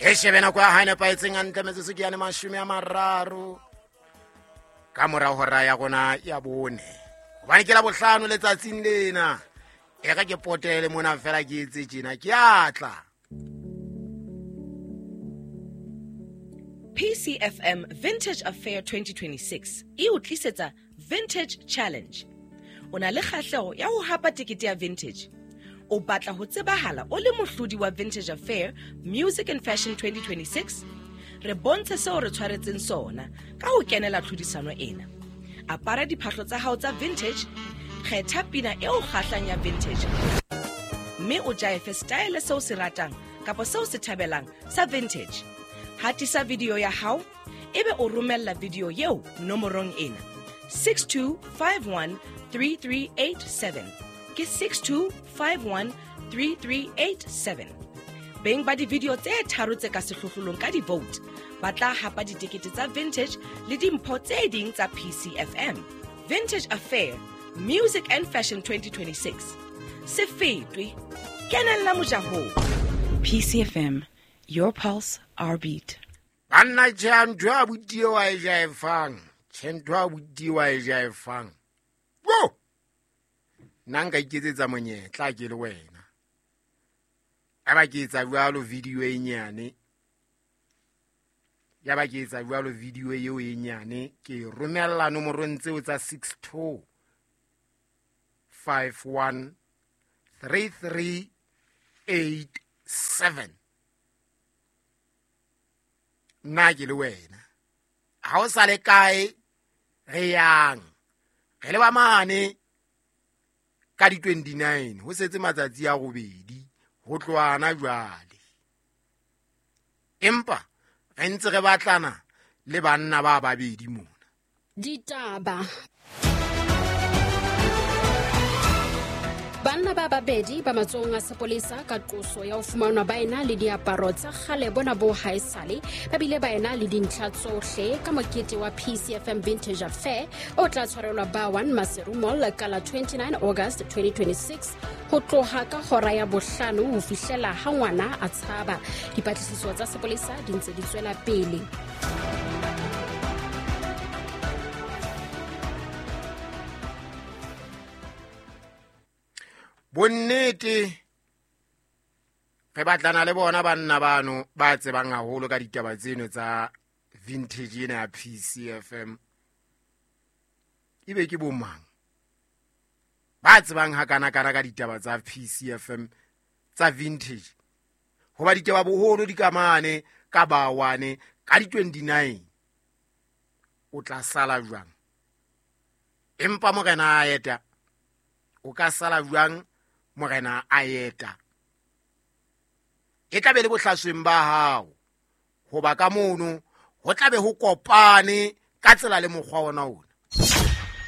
E shebe nako ya hae nepahetseng hantle, metsotso ke yane 30 ka mora hora ya rona ya 4, hobane ke la bohlano letsatsing lena. E re ke potele mona fela ke etse tjena, ke atla. PCFM Vintage Affair 2026 e o tlisetsa Vintage Challenge. O na le kgahleho ya ho hapa tekete ya vintage. O batla ho tsebahala o le mohlodi wa Vintage Affair Music and Fashion 2026? Re bontshe seo re tshwaretseng sona ka ho kenela tlhodisano ena. Apara diphahlo tsa hao tsa vintage, kgetha pina e o kgahlang ya vintage, mme o jaefe style seo se ratang kapa seo se thabelang sa vintage. Hatisa video ya hao, ebe o romella video eo nomorong ena 62513387. Ke 62513387. Beng ba di-video tse tharo tse ka sehlohlolong ka di-vote ba tla hapa ditekete tsa vintage le dimpho tse ding tsa PCFM. Vintage Affair Music and Fashion 2026. Se fetwe, kenella mojahong. PCFM, your pulse, our beat. Banna tjhe, ntho ya abuti eo a e jaefang, tjhe, ntho ya abuti eo a e jaefang. Wo! Nna nka iketsetsa monyetla ke le wena. Eba ke etsa jwalo video e nyane. Ya ba ke etsa jwalo video eo e nyane, ke e romella nomorong tseo tsa 62 51 33 87. Nna ke le wena, ha o sa le kae re yang, re leba mane ka di 29, ho setse matsatsi a robedi ho tlohana jwale. Empa re ntse re batlana le banna ba babedi mona. Ditaba. Banna ba babedi ba matsohong a sepolesa ka qoso ya ho fumanwa ba ena le diaparo tsa kgale bona bo haesale, ba bile ba ena le dintlha tsohle ka mokete wa PCFM Vintage Affair o tla tshwarelwa ba 1 Maseru Mall ka la 29 August 2026 ho tloha ka hora ya 5 ho fihlela ha ngwana a tshaba. Dipatlisiso tsa sepolesa di ntse di tswela pele. Bonnete re batlana le bona banna bano ba tsebang haholo ka ditaba tseno tsa vintage ena ya PCFM. Ebe ke bo mang ba tsebang hakana-kana ka ditaba tsa PCFM tsa vintage? Hoba ditaba boholo di ka mane ka bawane ka di 29, o tla sala jwang? Empa morena a eta, o ka sala jwang morena a eta? E tla be le bohlasweng ba hao, hoba ka mono ho tla be ho kopane ka tsela le mokgwa ona ona.